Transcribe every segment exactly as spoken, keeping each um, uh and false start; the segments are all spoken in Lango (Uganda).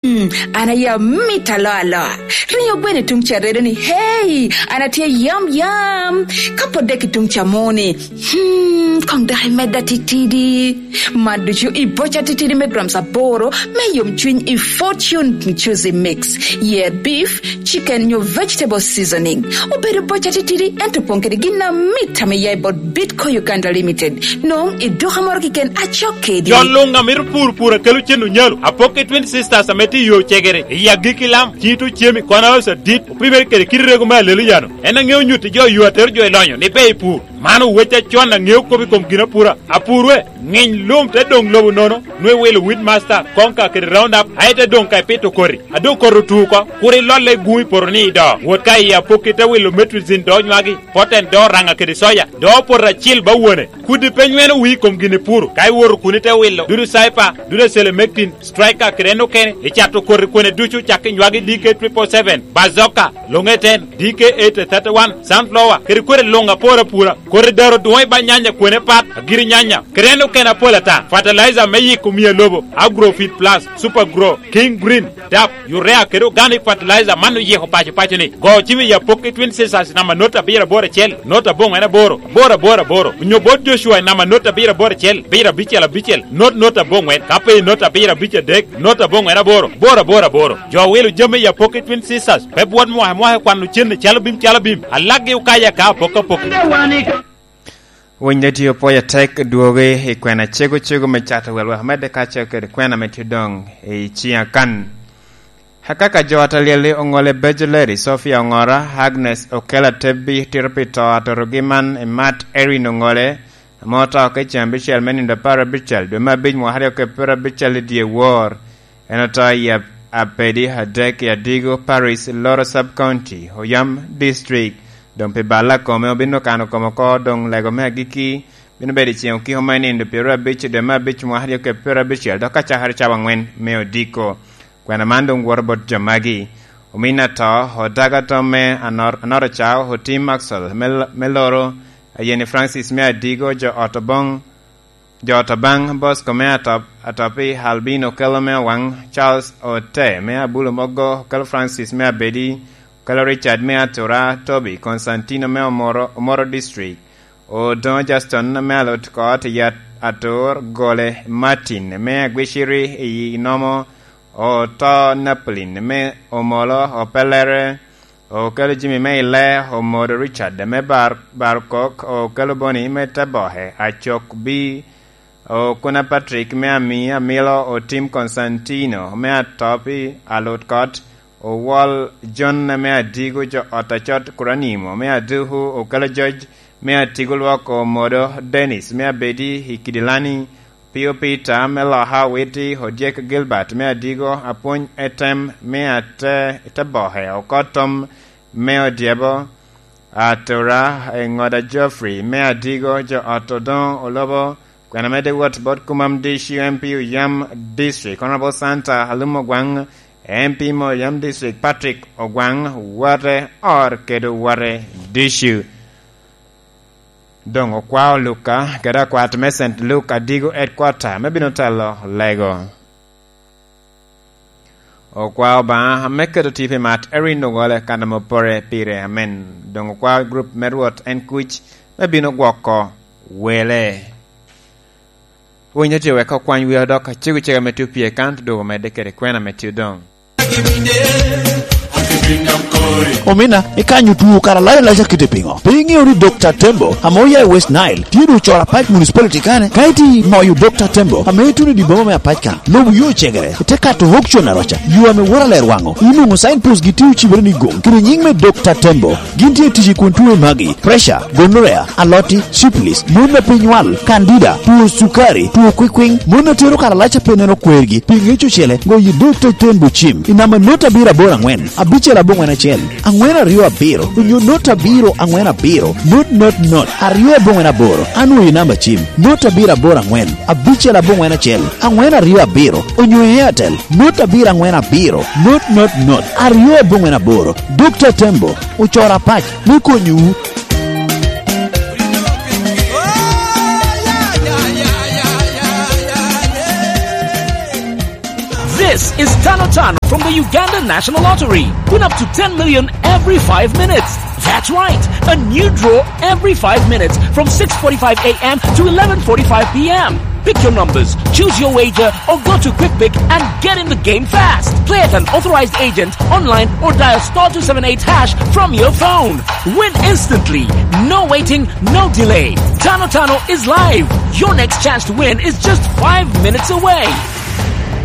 Hmm, an aye amit aloa aloa. Rinyo gweno i tuŋ ca redo ni, "Hey, an atye yam yam." Ka pwod dek i tuŋ ca mo ni, "Hmm, koŋ dok imedda titidi." Man ducu i boca titidi me grams aboro me yomcwiny i Fortune Juicy Mix. Yer beef, chicken nyo vegetable seasoning. Obedo boca titidi, ento opoŋ kede gin amit ame ya i bot Bitco Uganda Limited. Nwoŋo i duka moro keken acok kedi. Jo luŋ a mito pur, pur akelo cen onyalo. Apok i Twin Sisters ame tye i yo cegere, i agikki lam, cito cemi, kono osa dit, opimere kede kit rego me alelo yano. En aŋeo nyutti jo yo atero jo i lonyo ni pe i pur. Man owec acon aŋeo kop i kom ginapura. Apur we, ŋiny lum te doŋ lobo nono, nwe wilo Weedmaster, Conquer kede Roundup, aye te doŋ ka ipito koti. A doŋ koti otu oko, kur ilolle i gun i poto ni ido. Wot ka i apok ite wilo Metrizin do nywagi, Poten do raŋa kede soya, do poto acil ba wone. Kudi pe nyweno wii i kom gin ipuro, ka iwoto kun ite wilo dudu Cyper, dudu Selemectin, Striker kede en okene, icato koti kwene ducu cak i nywagi D K triple seven, Bazooka, Longeten, D K eight thirty-one, Sunflower, kede kwene luŋ apor apura. Koti daro dwoŋ i ba nyanya kwene pat, agiri nyanya, kede en okene apol ata. Fertilizer me yiko mia lobo, Agrofit Plus, Super Grow, King Green, DAP, Urea kede Organic Fertilizer man oyiko paco paco ni. Go cim i apok i Twin Sisters namba not abiro aboro acel, not aboŋwen aboro, aboro aboro aboro. Onyo bot Joshua i namba not abiro aboro acel, abiro abicel abicel, not not aboŋwen. Ka pe i not abiro abic adek, not aboŋwen aboro, aboro aboro aboro. Jo wilo jami i apok i Twin Sisters, pe bwot mwaka mwaka kwano cen calo bim calo bim. Alaggi okayo aka apok apok. Winy dati opwoyo atek dwogi i kwena cego cego me cato wel wek omedde kacel kede kwena ame tye doŋ i ciŋ akan. Akaka jo Atalyel oŋole Bejo Lady, Sophia Oŋora, Agnes Okela Tebbi, tito pi to atorogi man i Mat Erin Oŋole, ame oto ka i ceŋ abicel me nino apar abicel dwe me abic mwaka aryo kede pyerabicel i dye wor. En oto i Ab-, Abedi adek i Adigo Parish, Loro Sub County, Oyam District. Doŋ pi bal a kome obino kano kome oko, doŋ lego me agikki bino bedo i ceŋ okiko me nindo pyeraryo abic i dwe me abic mwaka aryo kede pyerabicel, dok acakere cawa aŋwen me odiko. Kwena man doŋ woto bot jo magi: omin ato, Odaga Tomme, Anor-, Anoro Cao, Otim Maxwell me L-, me Loro, Ayeni Francis me Adigo, jo ot Oboŋ, jo ot Obaŋ, Bosco me Atop-, Atopi, Albino Kelo me Owaŋ, Charles Ote me Abulo Mogo, Okelo Francis me Abedi, Okelo Richard me Atura, Toby Constantino me Omoro, Omoro District, Odoŋo Justin me Alot Kot i At-, Atur, Gole Martin me Agwiciri i Nomo, Oto Napolin me Omolo, Opelere, Okelo Jimmy me Ile, Omodo Richard me Bar-, Barkok, Okelo Boni me Teboke, Acok Bi, Okuna Patrick me Ami, Amilo Otim Constantino me Atopi, Alut Kot, Owol John me Adigo, jo ot Acot Kuranimo me Aduku, Okelo George me Atigo Lwok, Omodo Dennis me Abedi i Kidilani, Pio Peter me Loka Witi, Odyek Gilbert me Adigo, Apwony Etem me Ate-, Teboke, Okotom me Odyebo, Atura, Eŋoda Geoffrey me Adigo, jo ot Odoŋo Olobo. Kwena medde wot bot Kumam D C, M P Oyam District, Honorable Santa Alum Ogwaŋ, M P me Oyam District Patrick Ogwaŋ, wote or kede wote D C. Doŋ okwao Luka kede akwat me Saint Luke Adigo Headquarter me bino telo lego. Okwao Obaŋa ame keto tipo i Mat Erin Ogole kan ame opore pire, amen. Doŋ okwao grup me Rwot en kuc me bino gwoko wele. Winyo tye wek okwany wiwa dok acego cego ame tye opye kan, te dwogo medde kede kwena ame tye odoŋ. Omina, ikanyo tuo kara lac alac akite piŋo? Pe iŋeo ni Dokta Tembo, ame oya i West Nile, tye doŋ ocoro apac municipality kane? Ka iti moyo Dokta Tembo, ame ituno i dye boma me apac kan, lobo yo cegere, ite kato auction aroca, yo ame woro aler waŋo, inwoŋo signpost gi tye ocibere ni gong, kede nyiŋ me Dokta Tembo. Gin tye tic i kun tuo i magi: pressure, gonorrhea, aloti, syphilis, mon a pe nywal, candida, tuo cukari, tuo kwikwiŋ, mon a tero karalac a pe neno kwergi, pi ŋec ocele, goyo dot a ten bucim, i namba not abiro aboro aŋwen, abicel aboŋwen acel, aŋwen aryo abiro, onyo not abiro aŋwen abiro, not not not, aryo aboŋwen aboro, anwoyo namba cim, not abiro aboro aŋwen, abicel aboŋwen acel, aŋwen aryo abiro, onyo Airtel, not abiro aŋwen abiro, not not not, aryo aboŋwen aboro. Dokta Tembo, ocoro apac me konyowu. This is Tano Tano from the Uganda National Lottery. Win up to ten million every five minutes. That's right, a new draw every five minutes from six forty-five a m to eleven forty-five p m. Pick your numbers, choose your wager, or go to QuickPick and get in the game fast. Play at an authorized agent, online, or dial star two seven eight hash from your phone. Win instantly. No waiting, no delay. Tano Tano is live. Your next chance to win is just five minutes away.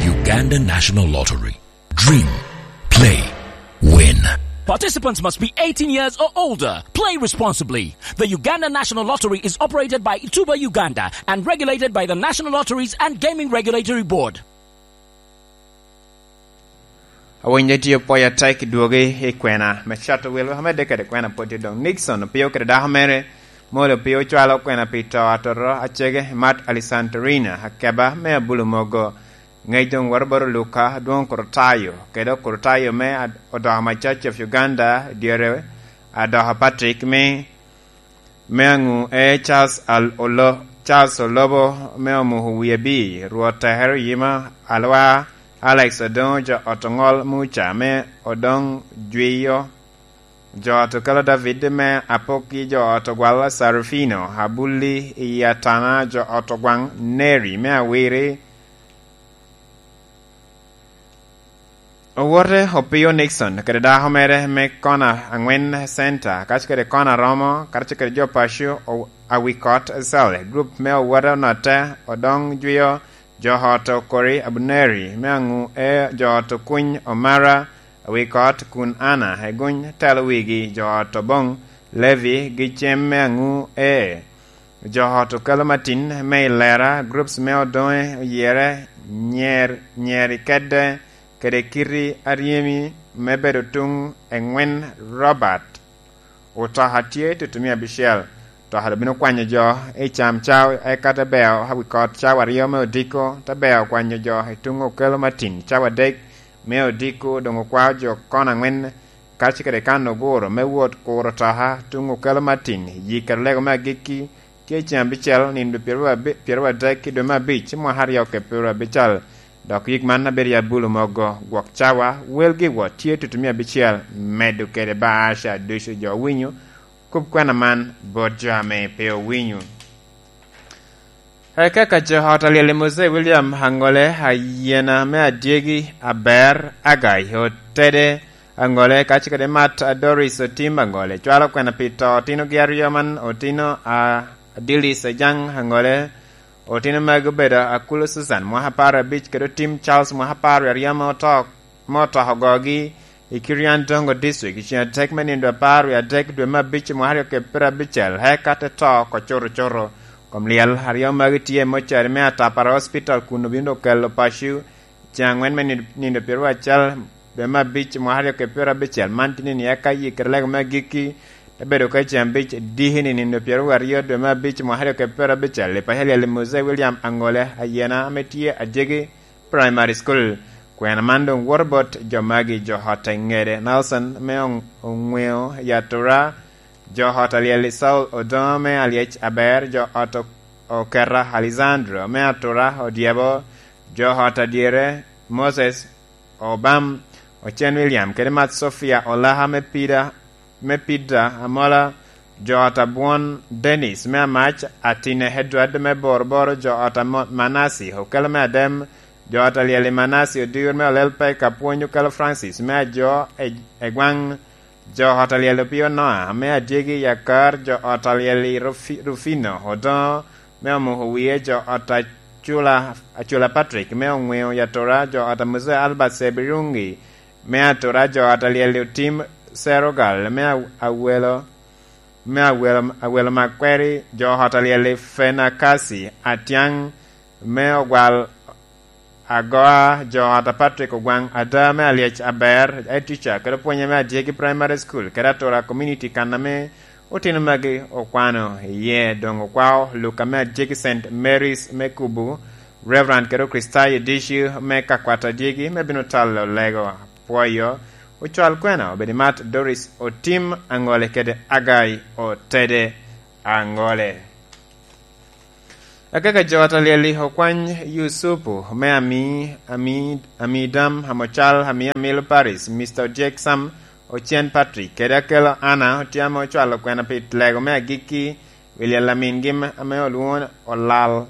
Uganda National Lottery. Dream, play, win. Participants must be eighteen years or older. Play responsibly. The Uganda National Lottery is operated by Tuba Uganda and regulated by the National Lotteries and Gaming Regulatory Board. Awinyo tye pwoyo atek i dwogi i kwena me cato wil, wek amedde kede kwena pwod tye doŋ. Nixon opio kede dako mere, molo opio cwalo kwena pi to atoto acege Mat Alisantarina, akeba me Abulu Mogo. Ŋec doŋ woto bot Luka, adwoŋ Kurotayo, kede Kurotayo me ad-, odoko ma Church of Uganda, dyere adoko Patrick me, me aŋu e Charles Al-, Olo-, Charles Olobo me omuko wie bi, Rwot Teher Yima, Alwa Alex Odoŋo, jo ot oŋol Muca me Odoŋ Jwiyo, jo ot okelo David me Apokki, jo ot ogwal Sarufino, Abulli i Atana, jo ot ogwaŋ Neri me Awiri, Owote opio Nixon kede dako mere me kona aŋwen center, kaco kede kona romo, kaco kede jo paco o-, awi kot Sally, group me owote onotte, odoŋ jwio, jo ot okori Abuneri, me aŋu e jo ot okuny Omara, awi kot kun Ana, eguny telo wigi, jo ot oboŋ Levi, gi cem me aŋu e Jo ot okelo matin me i lera, groups me odoŋe oyere, nyer-, nyeri kedde, kede kiti aryemi me bedo tuŋ eŋwen Robert. Otoka tye tutumia abicel. Otoka obino kwanyo jo i cam cawa, eka te beo awi kot cawa aryo me odiko, te beo kwanyo jo i tuŋ okelo matin cawa adek me odiko, doŋ okwao jo kono aŋwen, kace kede kan oguro me wot kuro otoka tuŋ okelo matin, yik kede lego me agikki, tye ceŋ abicel, nino pyeraryo abe-, pyeraryo adek i dwe me abic, mwaka aryo kede pyeraryo abicel. Dok yik man abedo i Abulu Mogo, gwok cawa, welgi wot tye tutumia abicel, medo kede baasha ducu jo owinyo, kop kwena man bot jo ame pe owinyo. Eka ka jo ot alyel i Mose William Aŋole, Ayena me Adyegi, Aber, Agai, Otede, Aŋole, kace kede Mat Doris Otim Aŋole, cwalo kwena pi to otinogi aryo man, otino a Adilis Ajaŋ Aŋole, otino magi obedo Akulo Susan, mwaka apar abic, kede Otim Charles, mwaka apar aryo, ame oto, me otoko ogogi i Kirian Tongo District, i ceŋ atek me nino apar wie adek dwe me abic, mwaka aryo kede pyerabicel, eka te to oko cuto cuto. Kom lyel aryo magi tye i mocari me Atapara Hospital kun obino okelo paco, ceŋ aŋwen me nino, nino pyeraryo acel dwe me abic, mwaka aryo kede pyerabicel. Man tye nino eka yik kede lego me agikki, te bedo ka ceŋ abic diki ni nino pyeraryo aryo dwe me abic, mwaka aryo kede pyerabicel, i paco alyel i Mose William Aŋole Ayena, ame tye Adyegi Primary School. Kwena man doŋ woto bot jo magi, jo ot Ŋede Nelson me Oŋ-, Oŋweo i Atura, jo ot alyel i Saul Odoŋo me Alyec Aber, jo ot O-, Oketa Alessandro me Atura Odyebo, jo ot Adyere Moses Obam, Ocen William, kede Mat Sofia Olaka me Pida, me Pida Amola, jo ot Abwon Dennis me Amac, Atine Edward me Boroboro, jo ot Amo-, Manasi Okelo me Adem, jo ot alyel i Manasi Odir me Olel Pek, Apwony Okelo Francis me Ajo e, Egwaŋ, jo ot alyel Opio Noa me Adyegi Yakar, jo ot alyel i Rufi-, Rufino Odoŋo me Omuko Wie, jo ot Acula, Acula Patrick me Oŋweo Yatura, jo ot Amuze Albert Sebirungi me Atura, jo ot alyel Otim Serogal me Aw-, Awelo, me Awelo, Awelo Makweri, jo ot alyel Fenakasi Atiaŋ me Ogwal Agoa, jo ot a Patrick Ogwaŋ Ada me Alyec Aber, head teacher, kede opwonye me Adyegi Primary School, kede Atura Community, kan ame otino magi okwano iye. Doŋ okwao Luka me Adyegi Saint Mary's me Kubu, Reverend kede Okricitayo ducu me Kakwat Adyegi me bino talo lego apwoyo, ocwal kwena obed i Mat Doris Otim Aŋole kede Agai Otede Aŋole. Akaka jo ot alyel-li okwany Yusupu me ami, ami, ami dam, amo cal, ami amilo Paris, Mister Jack Sam, Ocen Patrick, kede akelo Anna, otye ame ocwalo kwena pi lego me agikki wi lyel amingi ame olwoŋo Olal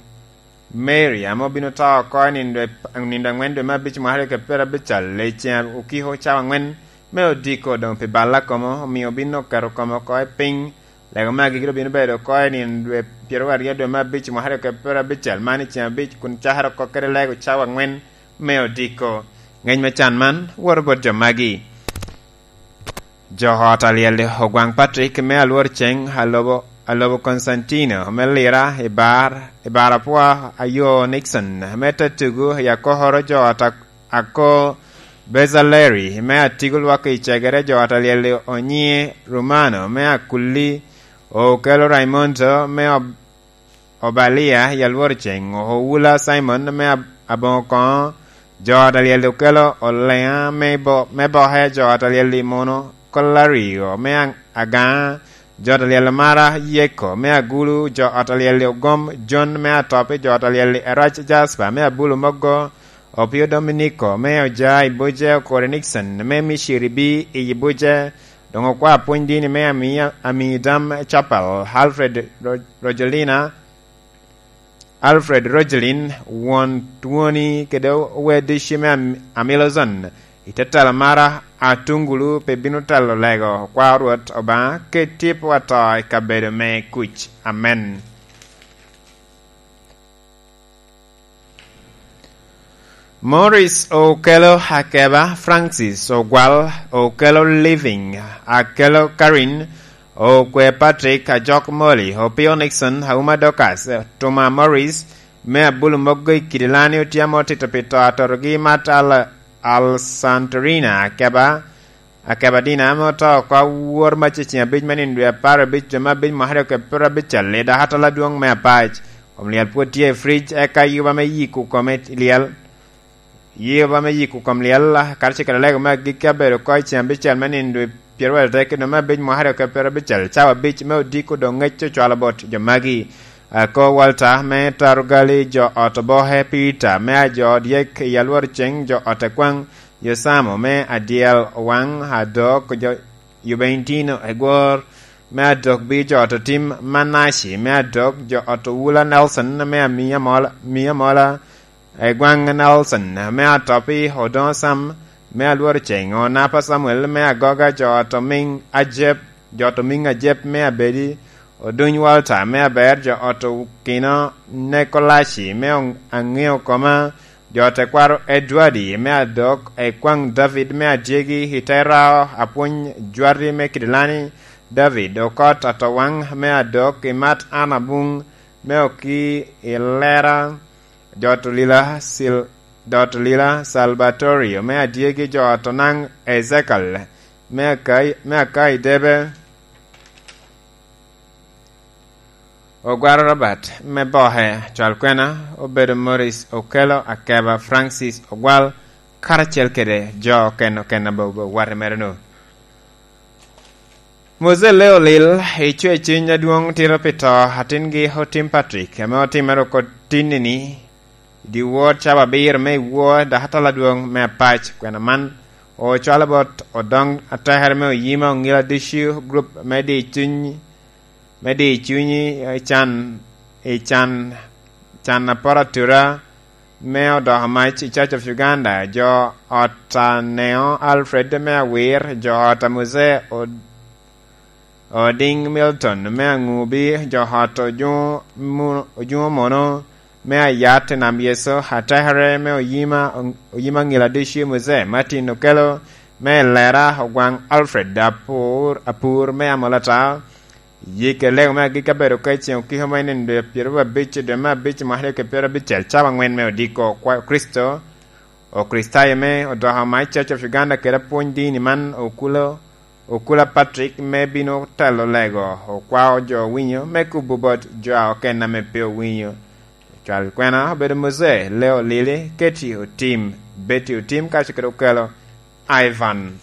Mary, ame obino to oko i nindo, nindo aŋwen dwe me abic mwaka aryo kede pyerabicel, i ceŋ okiko cawa aŋwen me odiko doŋ pi balla komo, omio obino oketo kome oko i piny. Lego me agikki obino bedo oko i nino dwe pyeraryo dwe me abic mwaka aryo kede pyerabicel, man i ceŋ abic, kun cakere oko kede lego cawa aŋwen me odiko. Ngec me can man woto bot jo magi. Jo ot alyel ogwaŋ Patrick me alwor ceŋ alobo, alobo Constantino me Lira i bar, i bar apwa ayo Nixon me te tugu i akokoro jo ot a-, ako Bezalleri me atigo lwak i cegere jo ot alyel onyiŋe Romano me akulli, okelo Raimondo me ob-, Obalia i alwor ceŋ, Owula Simon me ab-, aboŋo koŋo, jo ot alyel okelo Oleŋa me bo-, me boke, jo ot alyel i muno Kolario me aŋ-, agaŋa, jo ot alyel mara Yeko me agulu, jo ot alyel ogom Jon me atopi, jo ot alyel erac Jaspa me abulu mogo, Opio Dominiko me oja i buce, Okori Nixon me miciri bi i buce, doŋ okwa pwony dini me ami, ami dam Chapel, Alfred Ro-, Rojolina, Alfred Rojolin, won twoni kede oweddi Shime Am-, Amilozon, i te telo mara Atungulu pe bino telo lego, kwa Rwot Obaŋa, keti pwa to i kabedo me kuc. Amen. Morris okelo Akeba, Francis Ogwal okelo Living, akelo Karin, okwe Patrick, ajok Molly, Opio Nixon, Auma Dorcas, Tuma Morris, me abulu mogo i Kidilani otye ame otito pi to atotogi Mat Al-, Al Santorina, Akeba, Akeba Dina ame oto oko awor mac i ceŋ abic me nino dwe apar abic dwe me abic mwaka aryo kede pyerabicel i dakatal adwoŋ me Apac. Kom lyel pwod tye i fric, eka yuba me yiko kome i lyel. Yuba me yiko kom lyel, karacel kede lego me agikki abedo oko i ceŋ abicel me nino dwe pyerabicel kede dwe me abic mwaka aryo kede pyerabicel, cawa abic me odiko doŋ ŋec ocwalo bot jo magi. Ako Walter me Tarugali, jo ot oboke Peter me ajo dyek i alwor ceŋ, jo ot ekwaŋ Yosamo me adyel waŋ adok, jo Juventino egwor me adok bi jo ot otim Manaci me adok, jo ot Owula Nelson me amia mola, mia mola, egwaŋ Nelson me atopi Odoŋo Sam me alwor ceŋ, Onapa Samuel me agoga, jo ot omiŋ Ajep, jo ot omiŋ Ajep me abedi, Oduny Walter me aber, jo ot Okino Nekolaci me oŋ-, aŋeo koma, jo tekwaro Edwardi me adok, ekwaŋ David me adyegi, i te rao apwony Jwati me Kidilani, David Okot Atowaŋ me adok, i Mat Anna Buŋ me oki i Lera, jo ot Olila Sil-, jo ot Olila Salvatorio me adyegi, jo ot Onaŋ Ezekiel me Akai-, me Akai Debe. Ogwaro Robert me boke, cwal kwena obedo Morris Okello Akeba, Francis Ogwal, karacel kede jo oken oken abo-, bo-, wate mere-nu. Mose Leo Lil, icwe cuny adwoŋ tito pi to atingi Otim Patrick, ame otimere oko tinni-ni, dyewor cawa abiro me iwo dakatal adwoŋ me Apac, kwena man ocwalo bot odoŋ atekere me oyima oŋila ducu, gurup me di cuny, me di cunyi, i can, i can, can aporo atura me odoko mac i Church of Uganda, jo ot Aneo Alfred me Awir, jo ot a Mose Od-, Oding Milton me Aŋubi, jo ot Ojuŋo Mu-, Ojuŋo Mono me Ayat i Nam Yecu, atekere me oyima, oyima ŋila ducu Mose Martin Okello me Lera, Ogwaŋ Alfred Apur, Apur me Amolata, Yik elego me agikki abedo ka i ceŋ okiko me nino dwe pyeraryo abic i dwe me abic mwaka aryo kede pyerabicel, cawa aŋwen me odiko kwa-, Kricito, Okricitayo me odoko mac Church of Uganda kede apwony dini man okulo, okula Patrick me bino telo lego, okwao jo owinyo me kubo bot jo a oken ame pe owinyo. Cwal kwena obedo Mose, Leo Lili, Keti Otim, Betty Otim, kaco kede okelo Ivan.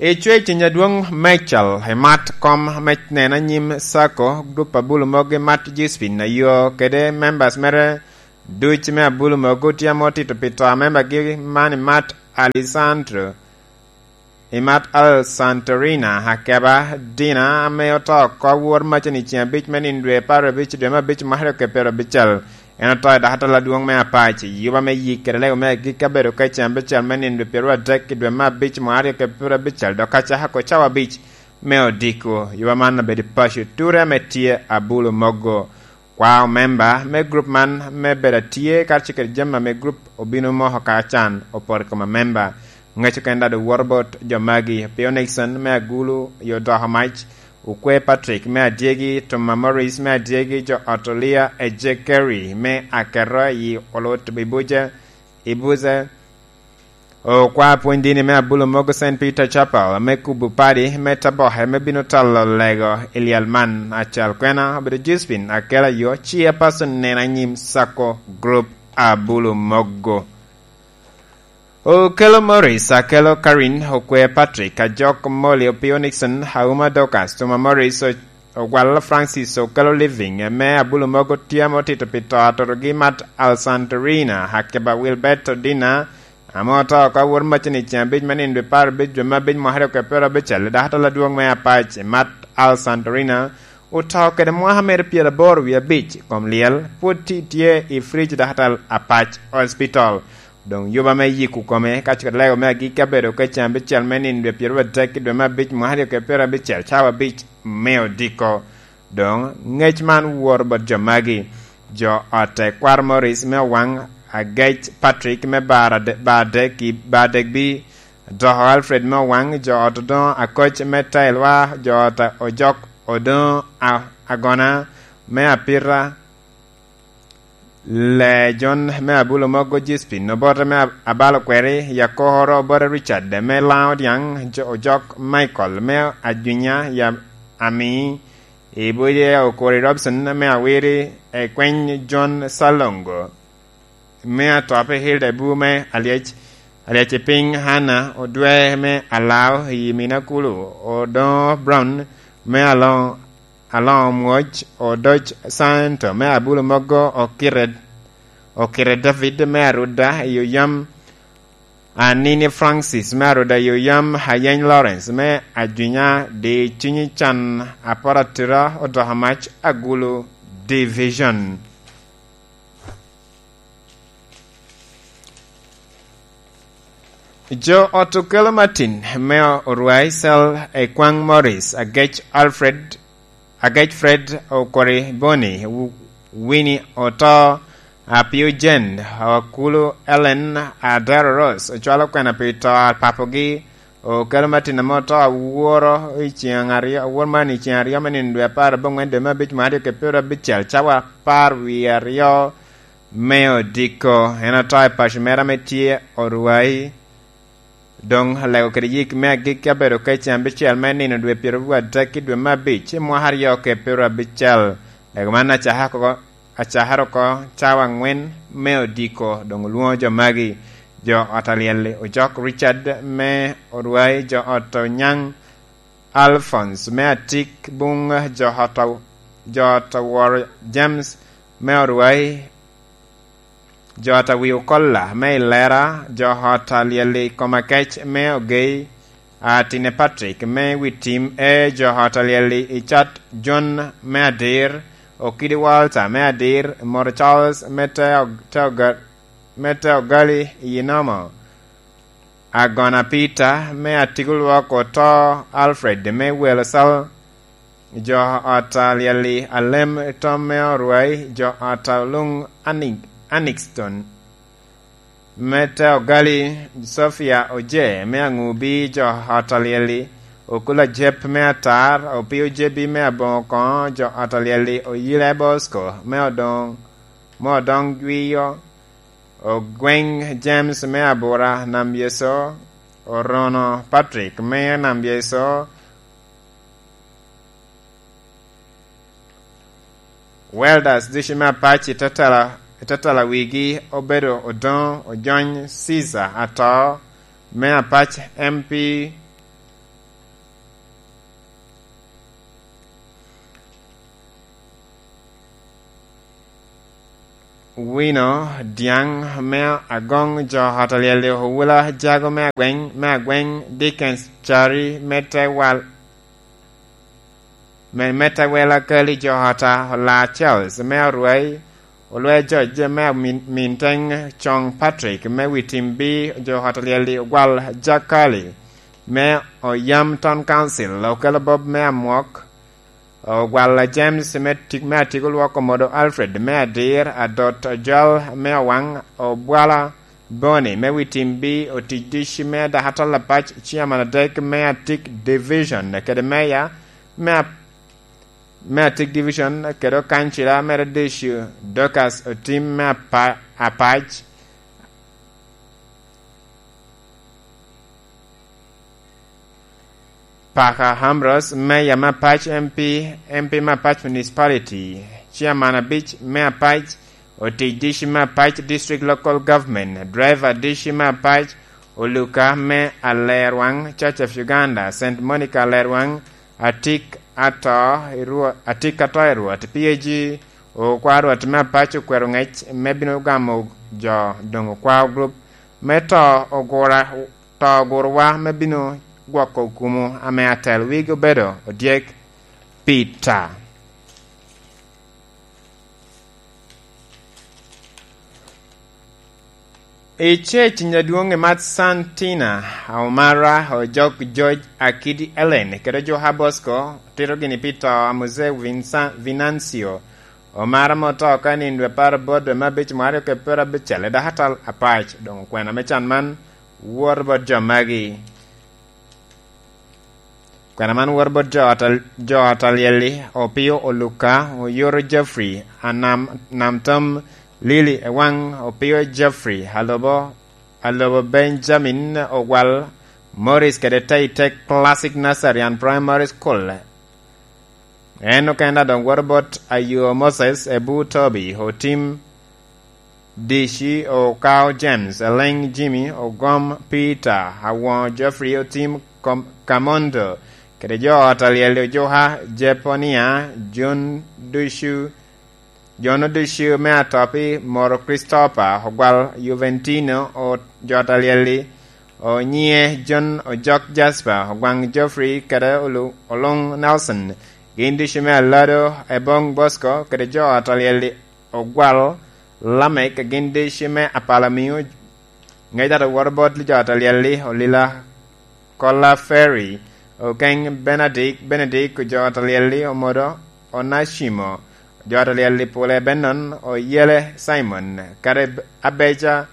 Icwe ciny adwoŋ Michael, imat kom me neno anyim Sacco, grup Abulu Mogo, imat Josephine Ayo, kede members mere duc me Abulu Mogo, tye ame otito pi to a membagi man, imat Alessandro, imat Alessandrina Akeba, Dina, ame oto oko wor macen i ceng abic me nino dwe apar abic, dwe me abic, mwaka aryo kede pyerabicel. En oto i dakatal adwoŋ me Apac, i yuba me yik kede lego me agikki abedo ka i ceng abicel me nino dwe pyeraryo adek i dwe me abic, mwaka aryo kede pyerabicel, dok acaka oko cawa abic me odiko. Yuba man obedo i paco ture ame tye Abulu Mogo. Kwa omemba me grup man me bedo atye karacel kede jami ame grup obino moko ka can opoto i kom amemba. Ŋec okene daŋ owoto bot jo magi: Pio Nixon me Agulu i Odoko Mac, Okwe Patrick me Adyegi, Tuma Morris me Adyegi, jo ot Olia, Ejekeri me Akero i Olut Bibuje, Ibuze, Okwa pwony dini me Abulu Mogo Saint Peter Chapel me kubo padi me Taboke me bino talo lego i lyel man. Acal kwena obedo Josephine Akela Yo, chairperson neno anyim Sacco Group Abulu Mogo. Okelo Morris, Akelo Karin, Okwe Patrick, Ajok Molly, Opio Nixon, Auma Dorcas, Tuma Morris, O-, Ogwal Francis, Okelo Living, me Abulu Mogo tye ame otito pi to atotogi mat Alsantorina, Akeba Wilbert Odina, ame oto oko awor macen i ceng abic me nino dwe apar abic dwe me abic mwaka aryo kede pyerabicel, i dakatal adwoŋ me Apac, mat Alsantorina, oto kede mwaka mere pyeraboro wie abic i kom lyel, pwod tye, tye i fridge dakatal Apac Hospital. Doŋ yuba me yiko kome ka cwit lego me agikki abedo ka cen abicel me nino dwe pyeraryo adek i dwe me abic mwaka aryo kede pyerabicel, cawa abic me odiko. Doŋ ŋec man woto bot jo magi: jo ot Tekwaro Morris me Owaŋ, Agec Patrick me Bar Ade-, Bar Adek i Bar Adek B, Doko Alfred me Owaŋ, jo ot Odoŋo Akoc me Tailwa, jo ot Ojok Odoŋo A-, Agona me Apita, Lejon me Abulu Mogo, Jispin Obote me Ab-, Abalo Kweri, Yakoro Obote Richard me Laŋo Dyaŋ, Jo-, Ojok Michael me Ajunya ya Ami, Ibuje Okori Robson me Awiri, Ekweny John Salongo me Atop, Hilda Ebu me Alyec, Alyec i Piny, Hana Odwe me Alao i Minakulu, Odoŋo Brown me Aloŋo Aloŋo Mwoc, Odoc Santo me Abulu Mogo, Okire, Okire David me Aruda i Oyam, Anini Francis me Aruda i Oyam, Ayeny Lawrence me Ajunya, Di Cunyi Can Aporatira, Odoka Mac Agulu Division. Jo ot Okelo Martin me Orwai, Sel Ekwaŋ Morris, Agec Alfred, Agec Fred Okori Boni, Wu-, Winnie Oto, Apio Jen, Akulu Ellen, Adero Rose, ocwalo kwena pi to a papogi, Okelo Martin ame oto aworo i ceŋ aryo, awor man i ceŋ aryo me nino dwe apar aboŋwen dwe me abic mwaka aryo kede pyerabicel, cawa apar wie aryo me odiko. En oto i paco mere ame tye Orwai. Doŋ alego kede yik me agikki abedo ka i ceŋ abicel me nino dwe pyeraryo adek i dwe me abic i mwaka aryo kede pyerabicel. Lego man acaka oko, acakere oko cawa aŋwen me odiko, doŋ olwoŋo jo magi: jo ot Alyel-li, Ojok Richard me Orwai, jo ot Onyaŋ Alphonse me Atik Buŋ, jo ot a-, jo ot Awor James me Orwai, jo ot Awi Okolla me Ilera, jo ot Alyel-li Komakec me Ogei, Atine Patrick me Witim, e jo ot Alyel-li Icat John me Adir, Okidi Walter me Adir, Moro Charles me Te Og-, Te Oga-, me Te Ogali i Inomo, Agona Peter me Atigo Lwok, Oto Alfred me Welo Sal, jo ot Alyel-li Alem Tom me Orwai, jo ot Oluŋ Ani-, Anixton me Te Ogali, Sofia Oje me Aŋubi, jo ot Alyel-li Okula Jep me Atar, Opio Jebi me Aboŋo Koŋo, jo ot Alyel-li Oyile Bosco me Odoŋ, me Odoŋ Jwiyo, Ogweng James me Abura Nam Yeso, Orono Patrick me Nam Yeso, Welders ducu me Apac i tatala, i tatala wigi obedo Odoŋo Ojony Caesar Ato me Apac M P, Wino Diaŋ me Agoŋ, jo ot a Lyel-li, Owula Jago me Agweny, me Agweny, Dickens Cari me Tewal, me, me Tewela Kali, jo ot a Ola Charles me Orwai, Olwe George me Amin-, Minteŋ, Coŋ Patrick me Witimbi, jo ot a Lyel-li, Ogwal Jakali me Oyam Town Council, Okelo Bob me Amwok, Ogwalla James me Tik-, me Atiko Lwok, Omodo Alfred me Adir, Adot Ojal me Owaŋ, Obwala Boni me Witimbi, Otic Dici me Dakatal Apac, Chairman adek me Atik Division, kede Meya me Ap-, me Atik Division, kede Okancila mere Dici, Dorcas Otim me Apa-, Apac, Paka Ambrose, Mayor me Apac, M P, M P me Apac Municipality, Chairman abic me Apac, Otic Dici me Apac District Local Government, Driver Dici me Apac, Oluka me Alerwaŋ, Church of Uganda, Saint Monica Alerwaŋ, Atik Ato i Rwo-, Atik Ato i Rwot, P A G, Okwa Rwot me Apac okwero ŋec me bino gamo jo doŋ Okwa Group me to ogura to ogurowa me bino gwoko kumo ame atel wigi obedo odyek Peter. I ceciny adwoŋ i Mat Santina, Omara, Ojok George, Akidi Ellen, kede Ojuka Bosco, tito gini pi to a Muzee Vinsa-, Vinancio, Omara ame oto ka i nino dwe apar abot dwe me abic mwaka aryo kede pyerabicel i dakatal apac. Doŋ okwena me can man woto bot jo magi. Kwena man woto bot jo ot a-, jo ot a Lyel-li, Opio Oluka, Oyoro Jeffrey, Anam, Nam Tom Lily Ewaŋ, Opio Jeffrey, Alobo, Alobo Benjamin Ogwal, Morris kede Taitek Classic Nursery and Primary School. En okene doŋ woto bot Ayo Moses, Ebu Toby, Otim Dici, Okao James, Eleŋ Jimmy, Ogom Peter, Awoŋo Jeffrey, Otim Kom-, Kamondo, kede jo ot a Lyel-li, Ojuka Jeponia, John Ducu, John Ducu me Atopi, Moro Christopher, Ogwal Juventino, o-, jo ot a Lyel-li, Onyiŋe John, Ojok Jasper, Ogwaŋ Geoffrey, kede Olu-, Oluŋ Nelson. Gin ducu me Alado, Ebong Bosco, kede jo ot a Lyel-li, Ogwal Lamek, gin ducu me Apala Miu, ŋec dato woto bot jo ot a Lyel-li, Olila Kola Ferry, Okeŋ Benadik, Benadik, jo ot a Lyel-li, Omodo Onacimo, jo ot a Lyel-li, Pule Benon, Oyele Simon, kede Abeca,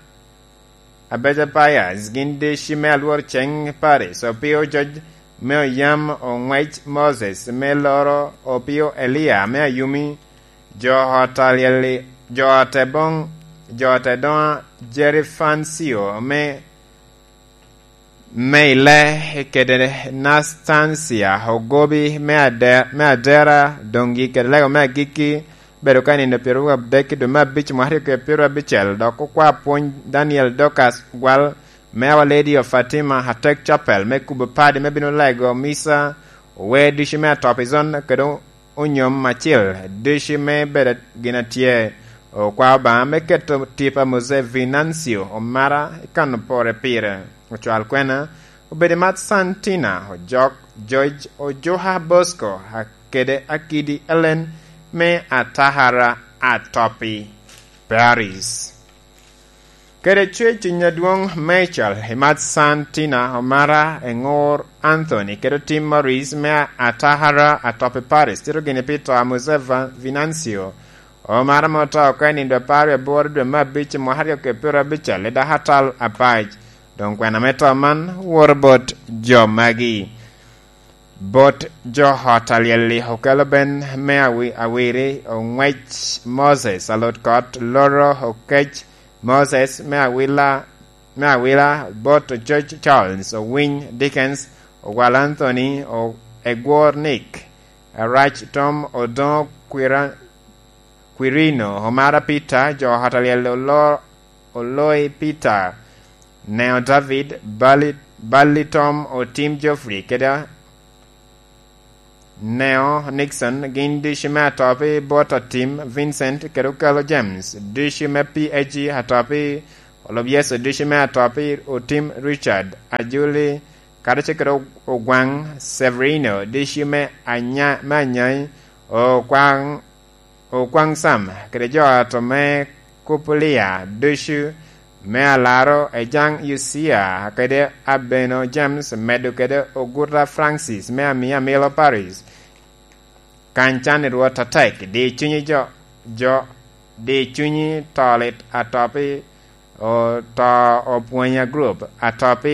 Abeca Pius, gin ducu me Alwor Ceŋ Paris, Opio George me Oyam, Oŋwec Moses me Loro, Opio Elia me Ayumi, jo ot a Lyel-li, jo ot Eboŋ, jo ot Edoŋa, Jerry Fancio me, me Ile, kede Nastancia Ogobi me Ade-, me Adera, doŋgi kede lego me agikki, bedo ka i nino pyeraryo adek i dwe me abic mwaka aryo kede pyerabicel, dok okwa pwony Daniel Dorcas Gwal me Our Lady of Fatima Atek Chapel me kubo padi me bino lego misa, ower ducu me Atopizon kede onyom acil ducu me bedo gin atye. Okwa Obaŋa me keto tip a Mose Venancio Omara i kano pore pire. Ocwal kwena obedo i Mat Santina, Ojok George, Ojuka Bosco, a-, kede Akidi Ellen me Atahara Atopi, Paris. Kede Cwec Cwiny Adwoŋ Michael i Mat Santina, Omara Eŋor Anthony, kede Tim Morris me Atahara Atopi, Paris, tito gini pi to a Mose Va-, Venancio Omara ame oto oko i nino dwe apar wie aboro dwe me abic i mwaka aryo kede pyerabicel i dakatal apac. Doŋ kwena me to man woto bot jo magi. Bot jo ot a Lyel-li, Okelo Ben me Awi-, Awiri, Oŋwec Moses, Alot Kot, Loro Okec Moses me Awila, me Awila, bot George Charles, Owiny Dickens, Ogwal Anthony, O-, Egwor Nick, Arac Tom, Odoŋo Kwira-, Kwirino, Omara Peter, jo ot a Lyel-li, Olo-, Oloi Peter, Neo David, Bali, Bali Tom, Otim Geoffrey, kede Neo Nixon, gin ducu me atop i bot Otim Vincent kede Okelo James, ducu me P A G atop i Olub Yecu, ducu me atop i Otim Richard Ajuli, kadi ce kede Ogwaŋ Severino, ducu me Anya-, me Anyai, Okwaŋ, Okwaŋ Sam, kede jo atop me Kupulia, ducu me Alaro, Ejaŋ Yucia, kede Abeno James, medo kede Oguta Francis me Amia Milo Paris. Kany can i Rwot atek, di cunyi jo, jo, di cunyi to lit atop i, o-, to opwonya group atop i